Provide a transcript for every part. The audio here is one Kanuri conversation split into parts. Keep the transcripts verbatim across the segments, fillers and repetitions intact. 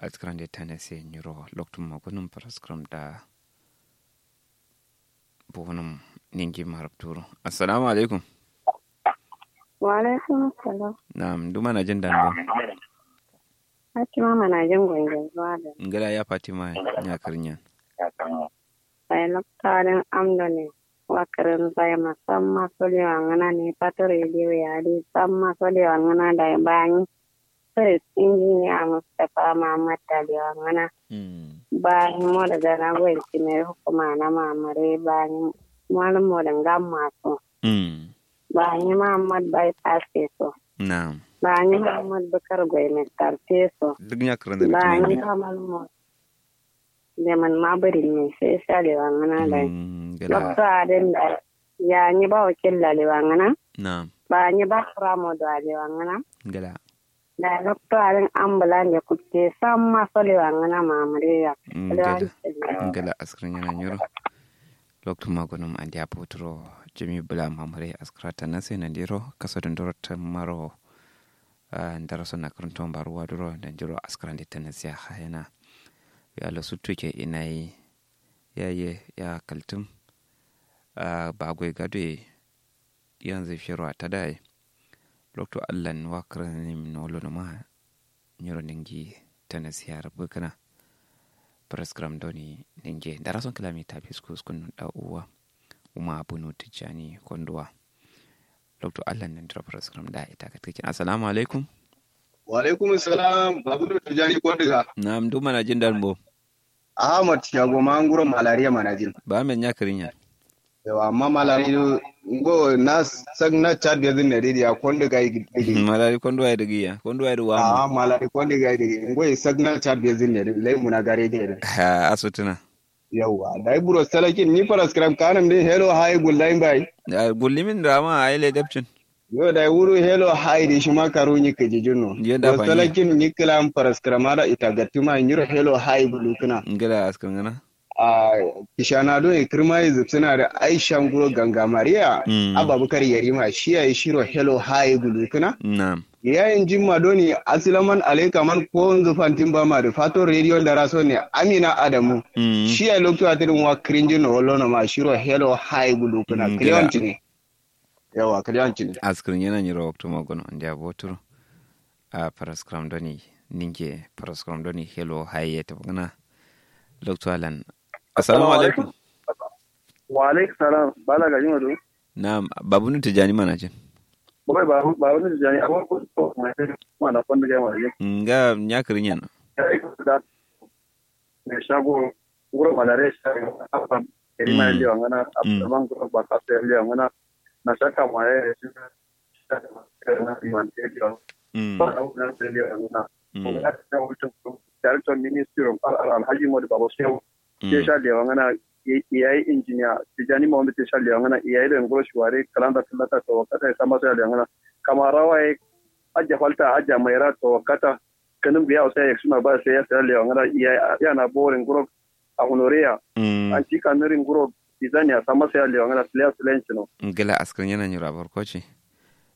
Askǝrande tanase nyiro loktu magunum faraskǝram da. Bonum ningi marabturo. Assalamu alaikum. Wa alaikum assalam. Na'am, ndu manajin dan bo? Fatima manajin gongen zuwa da. Ngala ya fatima. Nya kǝrnyan. Sai loktu adǝn amdo ne. Wa kǝrǝn sai ma samma solewa ngǝna ne fato rediyo ya dai samma solewa ngǝna dai bani. First injiniya mustapha muhammad taliwa ngana. Bani moda gana goyin cimeri hukuma na mamare bani. Malum moda ngamma so. Bani muhammad bypass so. Bani muhammad bukar goyi mestar so. Duk nya kǝrǝn da bani kamal moda. Leman ma bari me sai salewa ngana dai. Lokto adin da. Ya nyi ba wakil lalewa ngana. Bani ba kura moda lewa ngana. Gala. Da lokto adin ambulan ya kutte samma solewa ngana mamare ya. Gala. Gala askǝrnyan nyiro. Loktu magunum andiya poturo. Jami bula mamare askǝrata nase nandiro kaso dunduro tammaro. Ndaraso na kǝrǝnto mbaruwa duro nandiro askǝrande tanasiya hayana. Yalo suttuke inayi. Yaye ya kaltǝm. Bagoi gadoye. Yanzu fero a tadaye. Loktu allan wa kǝrǝnim nolo numa. Nyiro ningi tanasiya rǝbǝ kǝna. Faraskǝram doni ninge ndarason kǝlami tafi skuskunnu da uwa. Uma bunu tijjani konduwa. Loktu allan nandiro faraskǝram da ita katkǝkin assalamu alaikum. Wa alaikum salam babunu tijjani konduga. Na'am ndu manajin dan bo? Ahmad shago ma nguro malariya manajin. Ba men nya kǝrnyan. Yawa amma malari ngo na sagna chad ya zin nari ya konduga yi digi. Malari konduga yi digi ya konduga yi digi wa amma malari konduga yi digi ngo yi sagna chad ya zin nari lai muna gare de. Ha asutuna. Yawa dai buro salakin ni faraskram kanam din hello hi gullain bai. Gullimin da ma ai lai dabcin. Yo dai wuru hello hi di shima karu ni kiji junno. Yo da buro salakin ni kilam faraskram ada ita gattuma nyiro hello hi gulukuna. Ngila askar ngana. A kishana do e kirma e zubsuna da aisha nguro ganga maria. Ababakar yarima shiya e shiro hello hi gulukuna. Yayin jimma doni asilaman alaikaman ko nzu fantin bama da fato radio da raso ne amina adamu. Shiya loktu atirin wa kirinjin no wallo no ma shiro hello hi gulukuna kliyon cini. Yawa kaliyancin askirin yana nyiro waktu magono andiya boturu. A faraskram doni ninge faraskram doni hello haye ta bugana. Loktu alan assalamu alaikum. Wa alaikum salam bala ga jima do. Na babunu tijani mana jin. Boy babunu tijani abu ko mana kon ga mana jin. Nga nya kirin yana. Me shago nguro malare shago afam. Eri ma yalli wangana afam nguro baka so yalli wangana. Na shaka ma ya yalli wangana. Director ministry of alhaji modu baba shehu. Ke sha lewa ngana. Yayi injiniya tijani ma wanda ke sha lewa ngana yayi da nguro shuwari kalanda tallata to wakata ya sama sai lewa ngana. Kamarawa ya ajja falta ajja maira to wakata. Kanum biya usai ya suna ba sai ya sai lewa ngana. Yana borin nguro a honoreya. An ci kanurin nguro bizaniya sama sai lewa ngana siliya silenci no. Ngila askar yana nyura barkoci.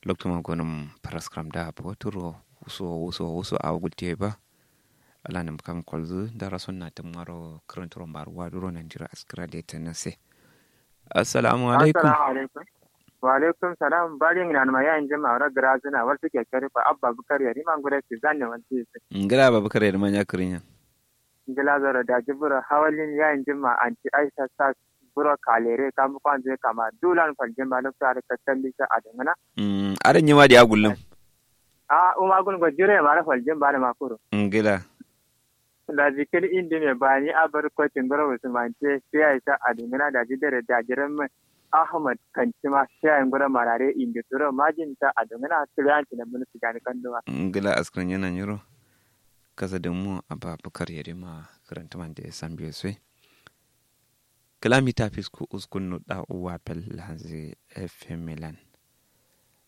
Loktu ma gonum paraskram da boturo. Wuso wuso wuso a gutte ba. Ala nam kam kolzu dara sonna tum maro kranturon baruwa duro nandiro askara de tanase. Assalamu alaikum. Wa alaikum salam bari ngina ma ya injin ma wara grazina wal suke kare fa abba bukar yari ma ngure si zanne wal si. Ngira abba bukar yari ma nya kirinya. Ngila zara da jibura hawalin ya injin ma anti aisha sa buro kalere kam kwanze kama dulan faljin ma lokta da kattalli sa adangana. Adan yima da ya gullum. A uma gun go jire ma da faljin ba da makuru. Ngila. Daji kǝl indi me bani abar kotin goro usmante sai aisha adunguna daji dare daji ramme. Ahmad kantima sai ayin goro marare indi turo majin ta adunguna kiliyanci na munu tijani kanduma. Ngila askrin yana nyiro. Kasa dimmu abba bukar yarima. Karantuman da ya sambiyo soi. Kǝla mita fisku uskun nuɗa uwa fel lanzi. Fm milan.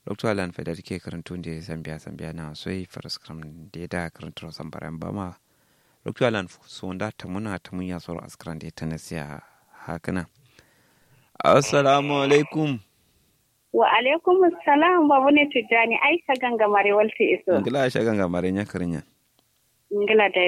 Loktu alan faida dike kǝrǝntu nde sambiya sambiya na soi faraskram nde da kǝrǝnturo sambara mbama. Loktu alan sonda tamuna tamunya soro askran nde tanasiya. Hakǝna. Assalamu alaikum. Wa alaikum salam babu ne tijjani aisha ganga mare walti iso. Ngila aisha ganga mare nya kǝrǝnya. Ngila dai.